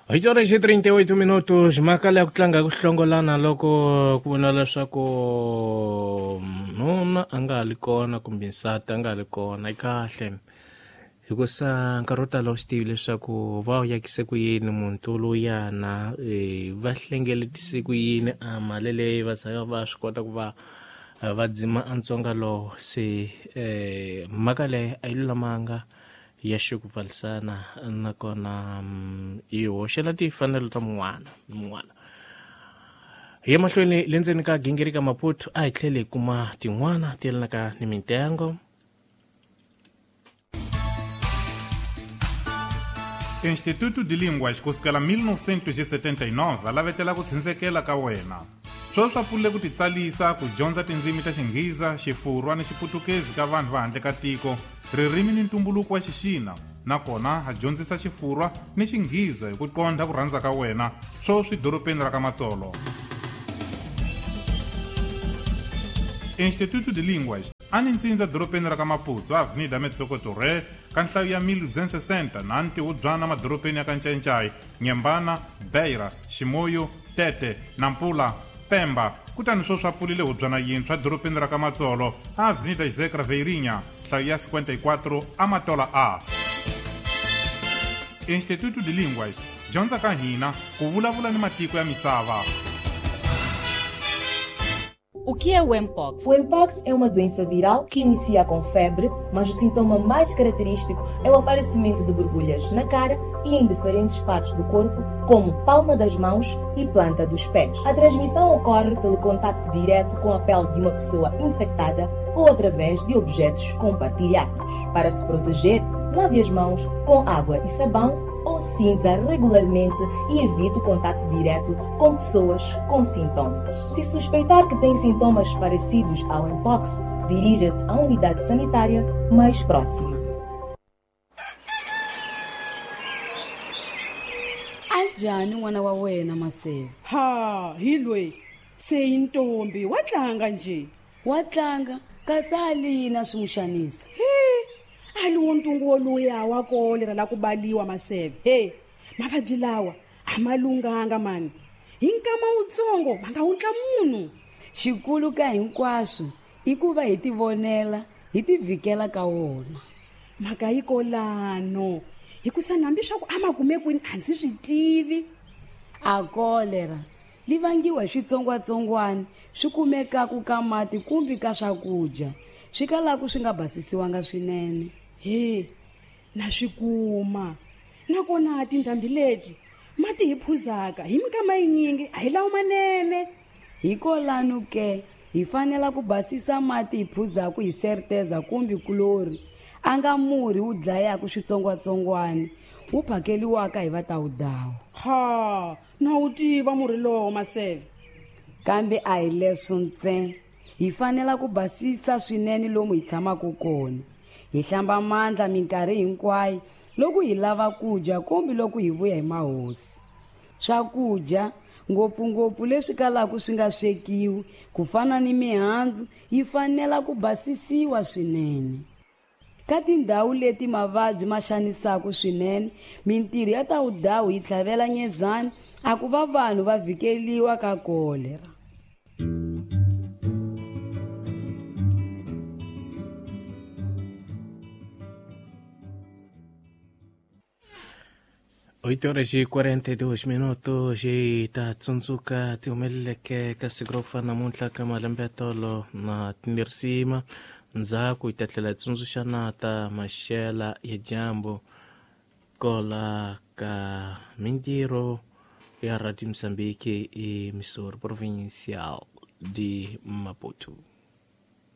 8 horas e 38 minutos. Mhaka leya ku tlanga ku hlongolana loko ku vona leswaku nuna a nga ha li kona kumbe nsati a nga ha li kona yi kahle, hikusa nkarhi wo tala u swi tivi leswaku va wu yakise ku yini muti lowuyana, va hlengeletise ku yini a mali leyi va za va swi kota ku va va dzima a ntsonga lowo. Se mhaka leyi a yi lulamanga ya xikupfalisana, nakona yi hoxela timfanelo ta mun'wana ni mun'wana. Hi ya mahlweni le ndzeni ka gingirika Maputo, a hi tlheli hi kuma tin'wana ti yelanaka ni mintengo. Instituto de Línguas kusukela 1979 a lavetela ku tshindzekela ka wena. Sweswi swa pfulile ku titsalisa ku dyondza tindzimi ta Xinghiza, Xifurwa ni Xiputukezi ka vanhu va handle ka tiko, ririmi ni ntumbuluko wa Xixina, nakona ha dyondzisa Xifurwa ni Xinghiza hi ku qondha ku rhandza ka wena, sweswi dorobeni ra ka Matsolo. Instituto de Línguas a ni ntsindza dorobeni ra ka Maputsu, Avenida Metsoko Torre, ka nhlayo ya 1260 na ntihubyana madorobeni ya ka Ncayincai, Nyembana, Beira, Ximoyo, Tete, Nampula, Pemba. Kutani sweswi a pfulile hubyana yintshwa dorobeni ra ka Matsolo, Avenida José Craveirinha, nhlayo ya 54, Amatola A. Instituto de Línguas, dyondza ka hina ku vulavula ni matiko ya misava. O que é o Mpox? O Mpox é uma doença viral que inicia com febre, mas o sintoma mais característico é o aparecimento de borbulhas na cara e em diferentes partes do corpo, como palma das mãos e planta dos pés. A transmissão ocorre pelo contacto direto com a pele de uma pessoa infectada ou através de objetos compartilhados. Para se proteger, lave as mãos com água e sabão ou cinza regularmente e evite o contato direto com pessoas com sintomas. Se suspeitar que tem sintomas parecidos ao Mpox, dirija-se à unidade sanitária mais próxima. Anjhani n'wana wa wena, Maseve? Ha, hi loyi se i ntombi, wa tlanga nje. Wa tlanga, kasi a lina swi n'wi xanisa? He, a li wo ntungu woluya wa kolera la ku baliwa, Maseve. He, mavabyi lawa a ma lunghanga mani, hi nkama wutsongo ma nga wundla munhu. Xikulu ka hinkwaswo i ku va hi tivonela, hi tivhikela ka wona. Mhaka yi kolano, hikusa nambi swa ku a ma kume kwini a ndzi swi tivi. A kolera li vangiwa hi switsongwatsongwana swi kumekaku ka mati kumbe ka swakudya swi kalaku swi nga basisiwanga swinene. He, na swi kuma, nakona tindhambi leti mati hi phuzaka hi minkama yinyingi a hi lawo manene. Hikolano ke hi fanela ku basisa mati hi phuzaku hi serteza kumbe kulori, a nga murhi wu dlayaku switsongwatsongwana wu phakeliwaka hi vatawudawu. Ha, na wu tiva murhi lowo, Maseve. Kambe a hi leswo ntsena, hi fanela ku basisa swinene lomu hi tshamaka kona, hi hlamba mandla minkarhi hinkwayo loko hi lava ku dya kumbe loko hi vuya hi mahosi. Swakudya ngopfungopfu leswi kalaka swi nga swekiwi ku fana ni mihandzu yi fanela ku basisiwa swinene. Ka tindhawu leti mavabyi ma xanisaka swinene, mintirho ya tawudawu yi tlhavela nyezani a ku va vanhu va vhikeliwa ka kolera. 8 horas e 42 minutos. Hi ta tsundzuka ti humeleleke ka siku ro fana namuntlha ka malembe ya tolo na timirisima. Ndzhaku hi ta tlhela hi tsundzuxa na ta maxela ya dyambu kola ka mintirho ya Radio Mozambique e Missouri Provincial de Maputo.